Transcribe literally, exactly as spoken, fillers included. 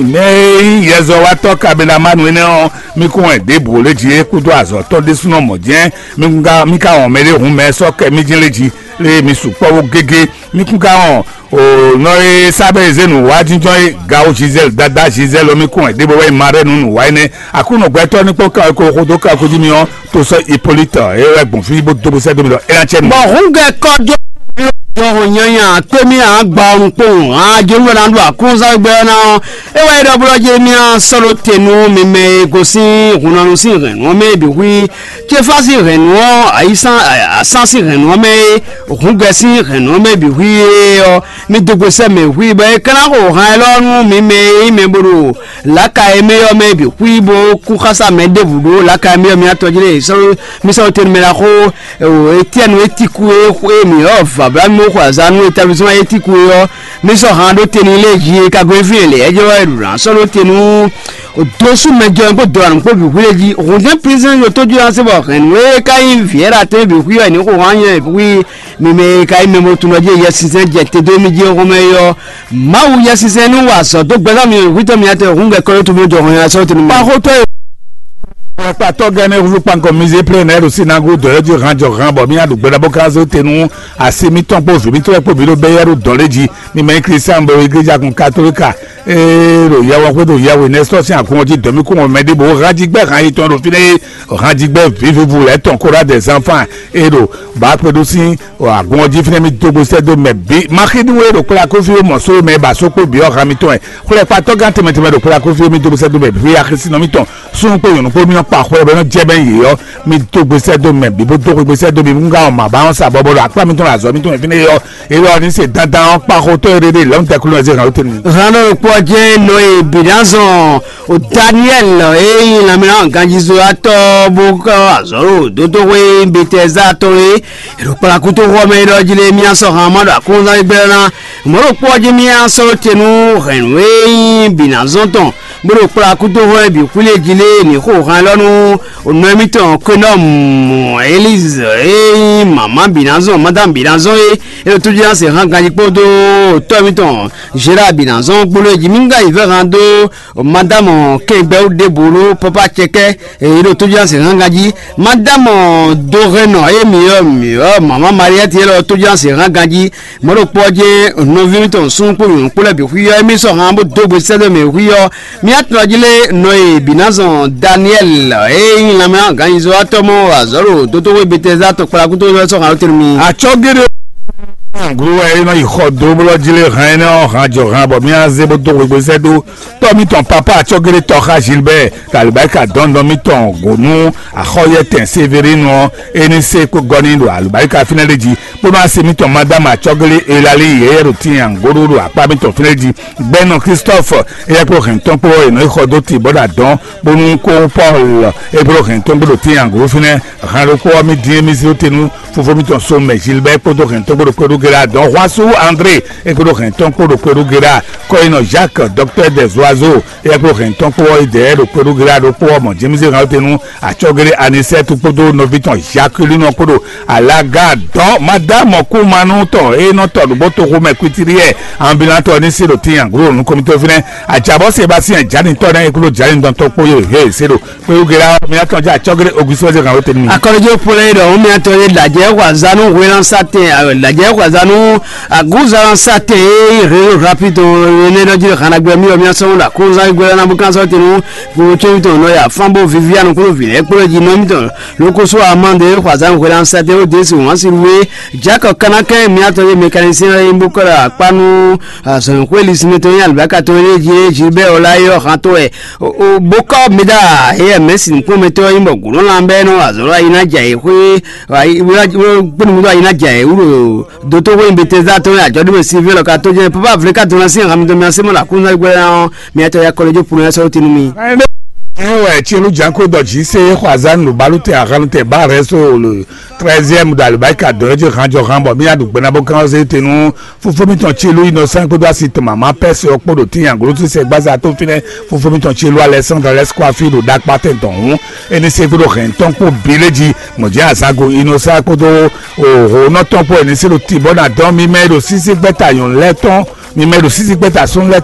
Mɛ e nyí yɛzɔ́watɔ́ kabelamanu énɛ́ ɔ́, mi kún wɛ ɖěbǔ lé jí é kúdó azɔ̌ tɔn ɖésúnɔ mɔ̌ jɛ́n. Mi kún ka mi ka wɔn mɛɖé hun mɛ sɔ́ kɛ mí jɛ́n lé jí, lé mi sukpɔ́ wó gégé. Mi kún ka wɔn o nɔ e sábẹ́ zé nǔ wá jínjɔ́n é gawo Gisèle, dada Gisèle ɔ́, mi kún wɛ ɖěbǔ wɛ ma ɖɛ nú nǔ wá énɛ́. Aklúnɔ gbɛtɔ́ ní kpɔ́n kan ko xo dó kan ko jí mi ɔ́, to sɔ́ Hippolyte é wɛ gbɔn fí bó dó bó sɛ́ dó mi ɖɔ é ná cɛ nǔ. Bɔ hǔn gɛ kɔjó jɔhɔn nyanya kpémí agba ɔnukpowun ajo wɛ ná ɖo akúnzán gbɛ ɔ́ ná ɔ́, é wɛ é ɖɔ blɔ́ jé mía sɔ́ ɖó te nú mi mɛ e gosín hunnɔnu sín hɛ̌nnu ɔ́ mɛ é bǐ hu í. Céfá sín hɛ̌nnu ɔ́, ayísán asán sín hɛ̌nnu ɔ́ mɛ é, hǔn gɛ sín hɛ̌nnu ɔ́ mɛ é bǐ hu í é ɔ́, mi dó gbe sɛ́ mɛ hu i bɔ é ka ná xo han élɔ́ nú mi mɛ e nyí mɛ bo ɖo lǎka e mɛ ɔ́ mɛ bǐ xwí bó kú xásá mɛ ɖěbǔ ɖó lǎka e mɛ ɔ́ mía tɔjí lé sɔ́ mi sɔ́ tɛnumɛ ná xó Etiɛnu e ti kú e xwé mǐ ɔ́ vǎblá mì xo azǎn nú établisema e ti kú e ɔ́, mi sɔ́ han ɖó te n'i lé jí e ka gɔ́ fí e lě ɛ́ jɛ wɛ ɖu ná sɔ́ ɖó te nú dósú mɛ jɔ kpó dɔ̌ kpó bǐ xwí lé jí hǔnjɛ́n pínzɛ́n yo tójú ná se bɔ hɛ̌nnu e ka nyí vǐ ɛ́ ɖo atɛ́nbí xwí ɔ́ è nǐ xo han nyɛ xwí mi mɛ e ka nyí mɛ bo tunɔ jí Yɛsinsɛn jɛ te dó mì jí xomɛ é ɔ́, Mawu Yɛsinsɛn ní wa azɔ̌ dó gbɛzán mi hwítɔ́ miatɔn hǔn gɛ́ kɔ́ tó mɔ jɔ hɔn nyi asɔ́ tɛnumɛ. Kpáxótɔ́ e kpakpatɔ́ gɛ́ ní húzú kpankɔ mizé plé nɛ́ ɖo sinago dɔ̌ jí han jɔ han bɔ mì nyi aɖu gbɛɖá bó ka zé te nú asi mítɔn kpó vǐ mítɔn kpó bǐ ɖo bɛ́yɛ́ ɖo dɔ̌ lé jí. Mi mɛ nyí Klístián bɔ igléja kun katolíka ee ɖo yɛwɔ xwé ɖo yɛwɛ nɛ́ sɔ́ sín agun ɔ́ jí dɔ̌ mì kún mɔ mɛɖé bó hán jí gbɛ́ han yětɔn ɖo fínɛ́ é hán jí gbɛ́ vǐvívú lɛ́ tɔn kó ɖá dɛ̌ zán fán é ɖo bǎ kpé ɖó sín agun ɔ́ jí fínɛ́ mì dó gbe sɛ́ dó mɛ bǐ. Maxínu e ɖo kplá kófí mɔ só mɛ ba só kpó bǐ ɔ́ han mitɔn wɛ. Xwlɛ́kpatɔ́ gán tɛnmɛ tɛnmɛ ɖo kplá kófí mì dó gbe sɛ́ dó mɛ bǐ axisínɔ mítɔn. Súnnu kpó nyɔ̌nu kpó mì nɔ kpa xwlɛ bɔ é nɔ jɛ bɛ́ yě ɔ́, mì dó gbe sɛ́ dó mɛ bǐ bó dó gbe sɛ́ dó mì nú ká ɔ́ mǎ ba ɔ́ sa bɔbɔ ɖo akpá mǐtɔn ɖo azɔ̌ mǐtɔn fínɛ́ é ɔ́. É ɖɔ ní se dandan ɔ́ kpa xotɔ́ e ɖe ɖe lɛ̌nútɛkùnú ɛ zé hɛn ló tɛ́ nú mì. Hannɔ ɖokpó ɔ́ jɛ́n nɔ e bǐ ná zɔn o Daniɛ́li e nyí lanmɛnánɔ ganjízɔ́watɔ́ bó ká azɔ̌ ɖo dótóxwé Betɛzá tɔn é. È ɖo kplá kútóxɔ mɛ é ɖɔ jí lé mía sɔ́ han ma ɖo akɔ́nzán gbɛ́ ná. Mɔ̌ ɖokpó ɔ́ jí mía sɔ́ te nú hɛ̌nnu e nyí bǐ ná zɔn tɔn, bó ɖo kplá kútóxɔ mɛ bǐ xwílé jí lé ní xo han élɔ́ nú nɔ émítɔn Kwénɔ́mu Elíze e nyí mama bǐ ná zɔn, madámu bǐ ná zɔn é. É ɖo tójí ná se han ganjí kpódó tɔ́ émítɔn Zhéra bǐ ná zɔn kpódó é jí mí ká yi vɛ́ han dó madámu kɛngbɛ́wú ɖěbǔ ɖó pápá cɛkɛ́. Èyí ɖo tójúlásě hán ganjí. Madámɔ Dohɛnnɔ e mǐ ɔ́ mǐ ɔ́ mama Mariɛ́ti élɔ́ tójúlásě hán ganjí. Mɔ̌ ɖokpó ɔ́ jɛ́n nɔví mítɔn súnnu kpó nyɔ̌nu kpó lɛ́ɛ bǐ xwí ɔ́, émí sɔ́ han bó dó gbe sɛ́ dó mɛ xwí ɔ́, mí atɔ́ jí lé nɔ e bǐ ná zɔn Daniɛ́li e nyí lanmɛ gǎnyizɔ́watɔ́ mɔ́ azɔ̌ ɖo dótóxwé Betɛzá tɔn kplá kútó sɔ́ han tɛ́nú mì. Atsɔ́ géɖé glo wɛ é nɔ yi xɔ dó blɔ́ jí lé han énɛ́ ɔ́, han jɔ han bɔ mí ná zé bó dó gbe sɛ́ dó tɔ́ mítɔn papá acɔ́gélétɔ́ xá Gilbert, ɖo alǐbáríka dɔ̌ndɔ́n mítɔn gǒ nú axɔ́yɛ́tɛn Severino ɔ́, é ní se kpó gɔ́ n'i ɖo alǐbáríka fínɛ́ ɖé jí, bónú asi mítɔn Madámu acɔ́gélé Elalíi yɛ́yɛ́ ɖo tíin angóɖó ɖo akpá mítɔn fínɛ́ jí. Gbɛ́nɔ Christophe, éyɛ́ kpó hɛ̌ntɔn kpó ɔ́, è nɔ yi xɔ dó ti bɔ́ ɖo adɔ̌n, bónú kó Paul, é kpó hɛ̌ntɔn kpó ɖo tíin angóɖó fínɛ́. Hɛn ɖokpó ɔ́, mì dín émí zé te nú fofó mítɔn Somɛ Gilbert kpódó hɛntɔn kpó ɖo kpéɖú Gérard, dɔn Huasu André é kpódó hɛntɔn kpó ɖo kpéɖú Gérard, kɔ́yinɔ Jacques, docteur des oiseaux, é kpó hɛntɔn kpó ɔ́, idɛɛ ɖo kpéɖú Gérard ɖokpó ɔ́, mɔ James Rautenu, acɔ́géré Anisɛtu kpódó nɔví tɔn Jacqueline kpó ɖo alaga dɔn madame Kumanu tɔn é nɔ tɔ nǔgbó toxo mɛ kwitiriɛ ambulant ɔ́ ní se ɖo tíin aglo nú kɔmitɔ́ fínɛ́. Ajabɔ Sébastien Janitɔ nɛ é kpódó Janitɔ kpó yó he se ɖo Kpéwúgela ɔ́, mi ná tɔn jɛ acɔ́géré Auguste wɛ́ zé hǎn ló tɛ́ nú mi. Akɔlɔjɛ polɛ ɖɔ ŋun mi atɔ ye lajɛ xɔ azanu hwelan satɛn lajɛ xɔ azanu aguzan satɛn e hɛn rapid ne dɔ ji hana gbɛ mi mi asɔn da kunzan gbɛ na bukan sɔ tenu ko tso mi tɔn nɔ ya fan bo vivian kolo vi lɛ kpolo ji nɔ mi tɔn lokoso amande xɔ azanu hwelan satɛn o desi wan si we jakɔ kanakɛ mi atɔ ye mécanicien ye bukɔ la kpanu azɔn xwe lisinɛ tɔn ye alibaka tɔn ye ji ye ji bɛ o la ye ɔ han to ɛ. Bókɔ́ mi ɖa éyɛ́ mɛ̌si nǔkplɔ́nmɛtɔ́ ɔ́ nyí bɔ gǔlɔ́nla bɛ́ nɔ azɔ̌ ayi ná jɛ ayǐ xwé kpénúmútɔ́ ayi ná jɛ ayǐ wú ɖo dótóxwé nyi Betɛzda tɔn e ajɔ̌ɖúmɛ Silvɛ́n lɔ ka tó jɛ́n pápá vlé ka dɔn ná sín ahan mitɔn mì así mɔ ɖo aklúnɔ́ gbɛ́ ɔ́, mi atɔ ya kɔlɔ́ jó punu ya sɔ́ tinu mi. Ɛ wɛ Tielú Janko dɔ jǐ sé xɔ azán ɖo balútɛ ahan tɛ bá rɛ́ só le treizième ɖo alibáríka dɔ̌n é jí han jɔ han bɔ mì ná ɖu gbɛ ná bó kán ɔ́ zé te nú Fofó mítɔn Tsilú Innocent kpódó asi tɔn mama Pɛ́si ɔ́ kpó ɖo tíin aglotu sɛgbáza tó fínɛ́. Fofó mítɔn Tsilú Alexandre Lɛskwafí ɖo ɖakpá tɛn tɔn hǔn, é ní se kpódó hɛn tɔn kpó bǐ lé jí. Mɔ̌ jɛ́n azǎn go Innocent kpódó òhǒnɔ tɔn kpó é ní se ɖo tibɔ́ ná dɔn mi mɛ e ɖo sísí gbɛ́ta nyɔ̌nu lɛ́ɛ tɔn, mi mɛ e ɖo sísí gbɛ́ta súnnu lɛ́ɛ